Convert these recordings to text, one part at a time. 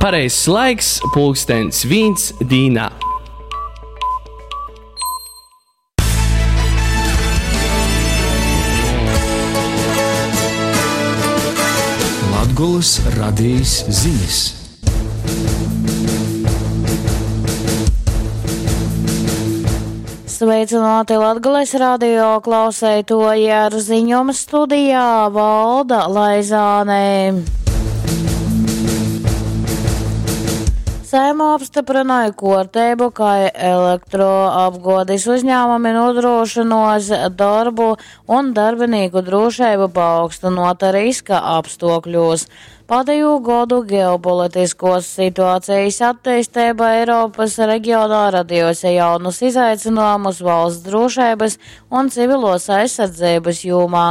Pareizs laiks pulkstens vīns dīnā. Latgolys radejis zinis. Sveicināti Latgales radio klauseitoji ar ziņom studijā Valda Laizāne. Saeima apstiprināja kuorteibu, kai elektroapguodis uzņēmumi nodrošinos darbu un darbinīku drošību paaugstynota riska apstuokļos. Pādējū godu ģeopolitiskos situācijas attīstība Eiropas reģionā radījusi jaunus izaicinājumus valsts drošības un civilos aizsardzības jomā,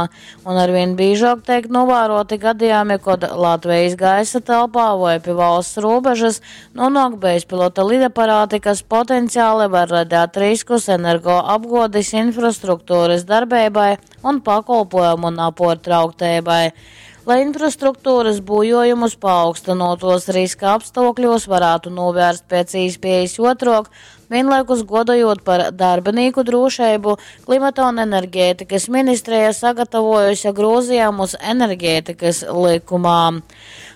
un arvien biežāk tiek novēroti gadījumi, kad Latvijas gaisa telpā vai pie valsts robežas nonāk bezpilota lidaparāti, kas potenciāli var radīt riskus energoapguodes infrastruktūras darbībai un pakolpojumu naportrauktēbai. Lai infrastruktūras būjojumus paaugstinotos riska apstākļos varētu novērst pēc iespējas otrok, vienlaikus godojot par darbinieku drošību, klimata un enerģētikas ministrija sagatavojusi grozījumus enerģētikas likumā.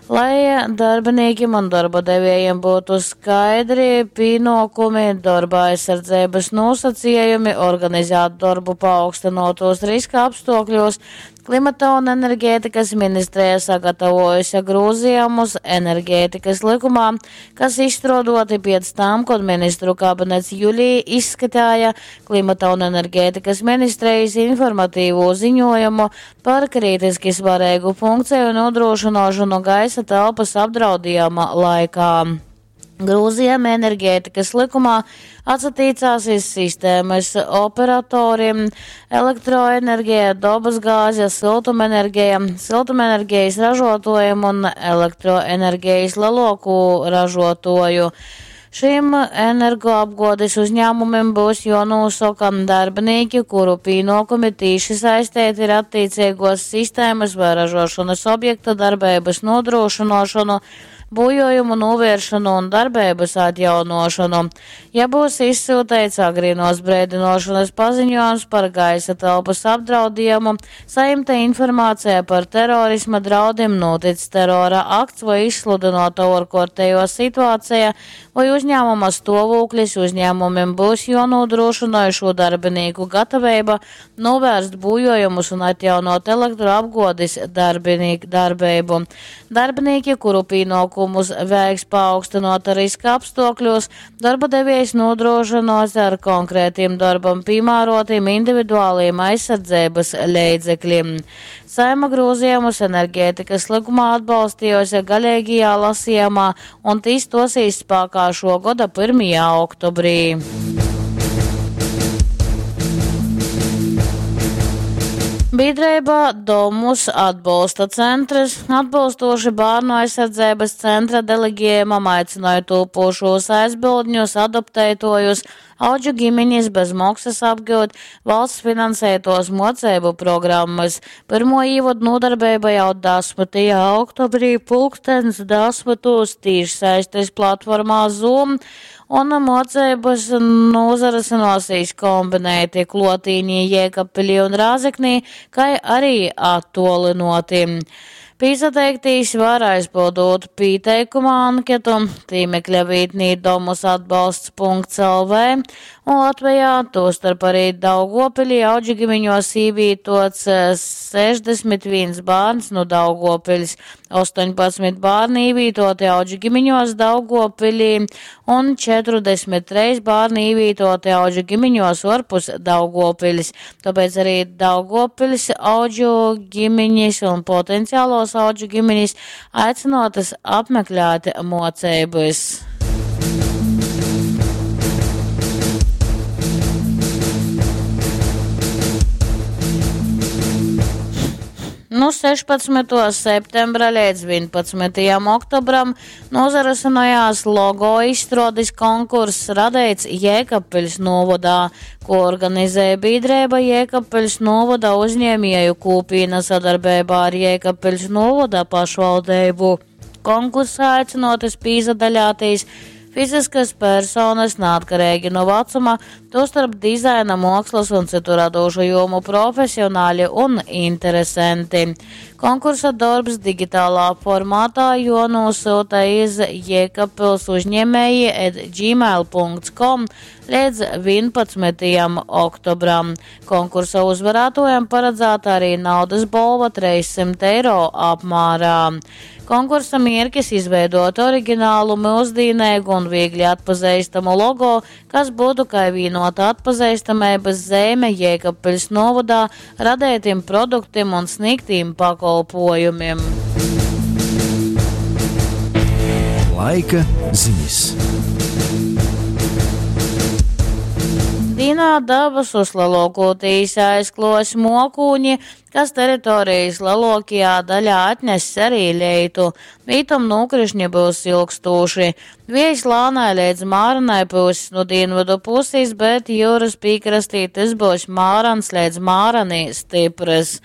Lai darbiniekiem un darba devējiem būtu skaidri pienākumi, darba aizsardzības nosacījumi, organizēt darbu paaugstinotos riska apstākļos, Klimata un enerģētikas ministrija sagatavojusi grozījumus enerģētikas likumā, kas izstrādoti pēc tam, kad ministru kabinets jūlijā izskatīja klimata un enerģētikas ministrijas informatīvo ziņojumu par kritiski svarīgu funkciju nodrošināšanu gaisa telpas apdraudījuma laikā. Grūzījumi enerģētikas likumā atsatīcās iz sistēmas operatoriem elektroenerģija, dabasgāze, siltumenerģija, siltumenerģijas ražotājiem un elektroenerģijas lielāko ražotoju. Šiem energoapguodes uzņēmumiem būs jānosaka darbinieki, kuru pienākumi tīši saistīti ar attiecīgos sistēmas vai ražošanas objekta darbības nodrošināšanu, būjojumu novēršanu un darbības atjaunošanu. Ja būs izsūtīts agrīnos brēdinošanas paziņojums par gaisa telpas apdraudējumu, saimta informācija par terorisma draudiem, notic terora akts vai izsludinota ārkārtējo situācija vai uzņēmuma stāvoklis, uzņēmumiem būs jānodrošina šo darbinieku gatavība novērst būjojumus un atjaunot elektroapguodes darbību. Darbinieki, kuru pienākumus veiks paaugstinota riska apstākļos, darba devējs nodrošinos ar konkrētiem darbam piemērotiem individuāliem aizsardzības līdzekļiem. Saima grozījumus enerģētikas likumā atbalstījusi galīgajā lasījumā un tīs stosies spēkā šo gada 1. oktobrī. Biedrība Domus atbalsta centrs atbilstoši bērnu aizsardzības centra deleģējumam aicināja tūpošos aizbildņus, adoptētojus, audžu ģimenes bez maksas apgūt valsts finansētos mocību programmas. Pirmo īvadu nodarbība jau 10. oktobrī pulkstens 10. tīšsaistes platformā Zoom un mocības nozares nosīs kombinēti Klotīnī, Jēkabpilī un Rāzeknī, kai arī attolinoti. Pīsateiktīs var aizpildot pieteikuma anketu tīmekļa vītnī domusatbalsts.lv un Latvijā, tostarp arī Daugopilī audžigimiņos īvītots 61 bērns no Daugopils, 18 bērni īvītoti audžigimiņos Daugopilī un 43 bērni īvītoti audžigimiņos orpus Daugopils. Tāpēc arī Daugopils audžu ģimiņas un potenciālos audžu ģimenes aicinotas apmeklēt mocības. Nu 16. septembra līdz 11. oktobram nozarasinājās logo izstrādes konkurss radīts Jēkabpiļs novadā, ko organizēja biedrība Jēkabpiļs novada uzņēmēju kūpīna sadarbībā ar Jēkabpiļs novada pašvaldību. Konkursā aicynuotys pīsadaļātīs fiziskys personys naatkareigi nu vacuma, tūstarp dizaina, muokslys un cytu radūšu jūmu profesionali un interesenti. Konkursa dorbs digitalā formātā juonūsyuta iz Jēkabpils uzņēmēji at gmail.com leidz 11. oktobram. Konkursa uzvarētojam paradzāta arī naudas bolva 300 eiro apmērā. Konkursa mierkis izveidot originālu, mūsdienīgu un viegli atpazīstamu logo, kas būtu kā vienota atpazīstamības zīme Jēkabpils novadā radētiem produktiem un sniegtiem pakolpojumiem. Laika ziņas. Dīnā dabasus lielākoties aizklos mokūņi, kas teritorijas lielākajā daļā atness arī leitu. Vītom nokrišņi būs ilgstūši. Viejs lānai līdz māranai būs no dienvidu puses, bet jūras piekrastī tas būs mārans līdz mārani stiprs.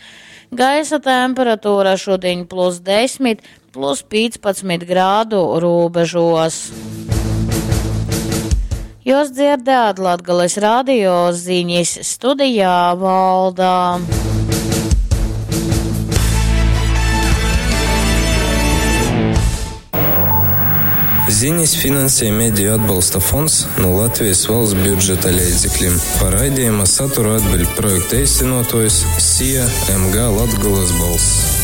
Gaisa temperatūra šodien plus 10, plus 15 grādu robežos. Jūs dzirdējāt Latgales radio ziņas studijā Valdā. Ziņas finansē Mediju atbalsta fonds no Latvijas valsts budžeta līdzekļiem. Par raidījuma saturu atbild projekta īstenotājs SIA MG Latgulas balss.